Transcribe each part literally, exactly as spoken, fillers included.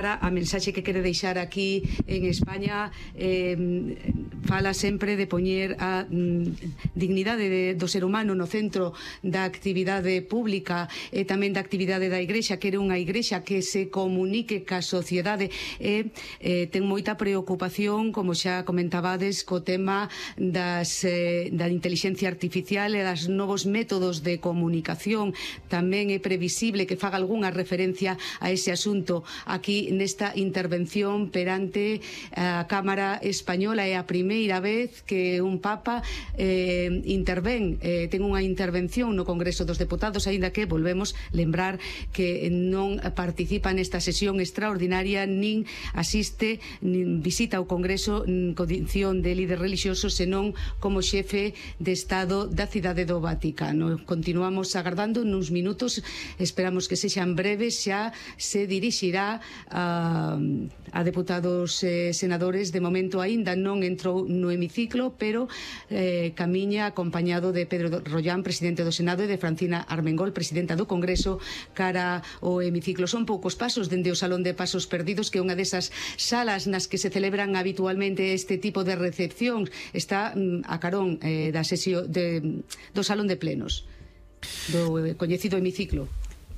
A mensaxe que quere deixar aquí en España eh, fala sempre de poñer a mm, dignidade de, do ser humano no centro da actividade pública e tamén da actividade da Igrexa. Quere unha Igrexa que se comunique ca sociedade e eh, ten moita preocupación, como xa comentabades, co tema das, eh, da inteligencia artificial e das novos métodos de comunicación. Tamén é previsible que faga algunha referencia a ese asunto aquí nesta intervención perante a Cámara Española. É a primeira vez que un Papa eh, intervén, eh, ten unha intervención no Congreso dos Deputados, aínda que volvemos lembrar que non participa nesta sesión extraordinaria, nin asiste, nin visita ao Congreso en condición de líder religioso, senón como xefe de Estado da cidade do Vaticano. Continuamos agardando nuns minutos, esperamos que sexan breves, xa se dirixirá a A, a deputados e eh, senadores. De momento aínda non entrou no hemiciclo, pero eh, camiña acompañado de Pedro Rollán, presidente do Senado, e de Francina Armengol, presidenta do Congreso, cara ao hemiciclo. Son poucos pasos dende o Salón de Pasos Perdidos, que é unha desas salas nas que se celebran habitualmente este tipo de recepcións. Está mm, a carón eh, da sesión de, do Salón de Plenos, do eh, coñecido hemiciclo.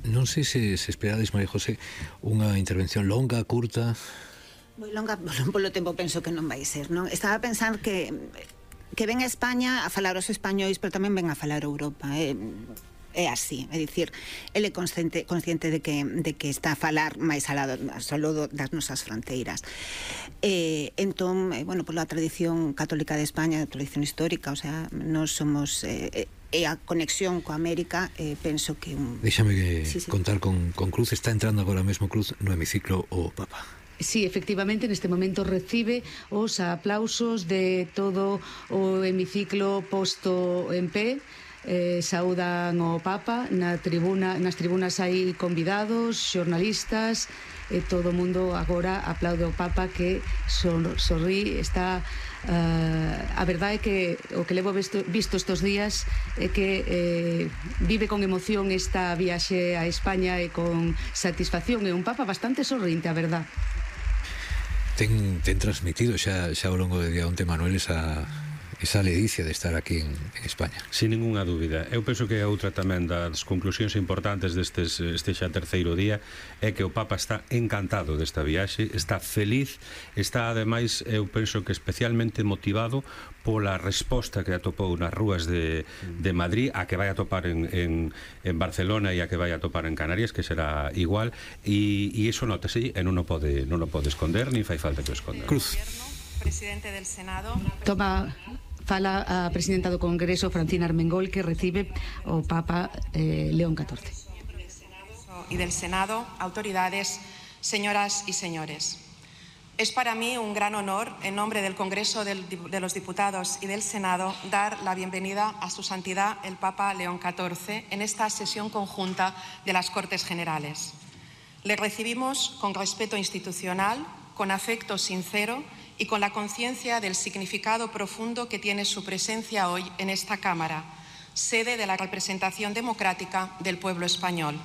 Non sei se, se esperades, María José, unha intervención longa, curta. Moi longa, polo tempo penso que non vai ser, non? Estaba a pensar que que ven a España a falar os españois, pero tamén ven a falar a Europa. É, é así, é dicir, ele é consciente, consciente de que de que está a falar máis alá solo das nosas fronteiras. Eh, entón, eh, bueno, pola tradición católica de España, a tradición histórica, o sea, nós somos eh, e a conexión coa América, eh, penso que un... Déxame que sí, sí. contar con, con Cruz. Está entrando agora mesmo Cruz no hemiciclo o Papa. Sí, efectivamente, neste momento recibe os aplausos de todo o hemiciclo posto en pé. Eh, saudan o Papa na tribuna, nas tribunas hai convidados, xornalistas, e todo o mundo agora aplaude o Papa, que sor, sorrí, está... Uh, a verdade é que o que levo visto, visto estes días é que eh, vive con emoción esta viaxe a España e con satisfacción. É un Papa bastante sorrinte, a verdade. Ten, ten transmitido xa, xa ao longo de día onte, Manuel, esa... esa ledicia de estar aquí en, en España. Sin ninguna dúbida. Eu penso que outra tamén das conclusións importantes destes este xa terceiro día é que o Papa está encantado desta viaxe, está feliz, está ademais, eu penso que especialmente motivado pola resposta que atopou nas rúas de, de Madrid, a que vai atopar en, en, en Barcelona e a que vai atopar en Canarias, que será igual, e, e iso notase e non o pode, non o pode esconder, nin fai falta que o esconda. Cruz. Presidente del Senado. Toma... Fala a presidenta do Congreso, Francina Armengol, que recibe o Papa eh, León catorce. Y del Senado, autoridades, señoras y señores. Es para mí un gran honor, en nombre del Congreso del, de los Diputados y del Senado, dar la bienvenida a su santidad el Papa León catorce en esta sesión conjunta de las Cortes Generales. Le recibimos con respeto institucional, con afecto sincero y con la conciencia del significado profundo que tiene su presencia hoy en esta Cámara, sede de la representación democrática del pueblo español.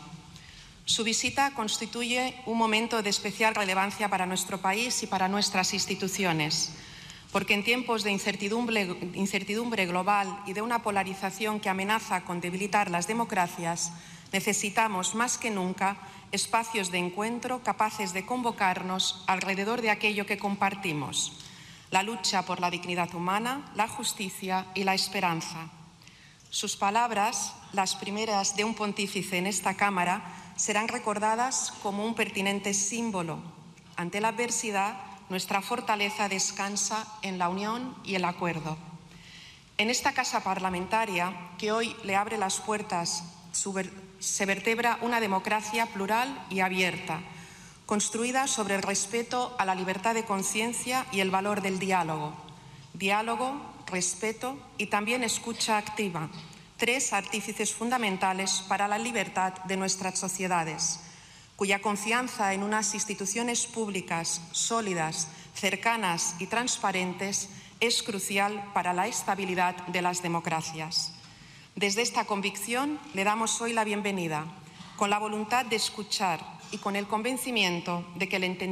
Su visita constituye un momento de especial relevancia para nuestro país y para nuestras instituciones, porque en tiempos de incertidumbre, incertidumbre global y de una polarización que amenaza con debilitar las democracias, necesitamos más que nunca espacios de encuentro capaces de convocarnos alrededor de aquello que compartimos: la lucha por la dignidad humana, la justicia y la esperanza. Sus palabras, las primeras de un pontífice en esta Cámara, serán recordadas como un pertinente símbolo. Ante la adversidad, nuestra fortaleza descansa en la unión y el acuerdo. En esta casa parlamentaria, que hoy le abre las puertas, se vertebra una democracia plural y abierta, construida sobre el respeto a la libertad de conciencia y el valor del diálogo. Diálogo, respeto y también escucha activa, tres artífices fundamentales para la libertad de nuestras sociedades, cuya confianza en unas instituciones públicas sólidas, cercanas y transparentes es crucial para la estabilidad de las democracias. Desde esta convicción le damos hoy la bienvenida, con la voluntad de escuchar, y con el convencimiento de que el entendimiento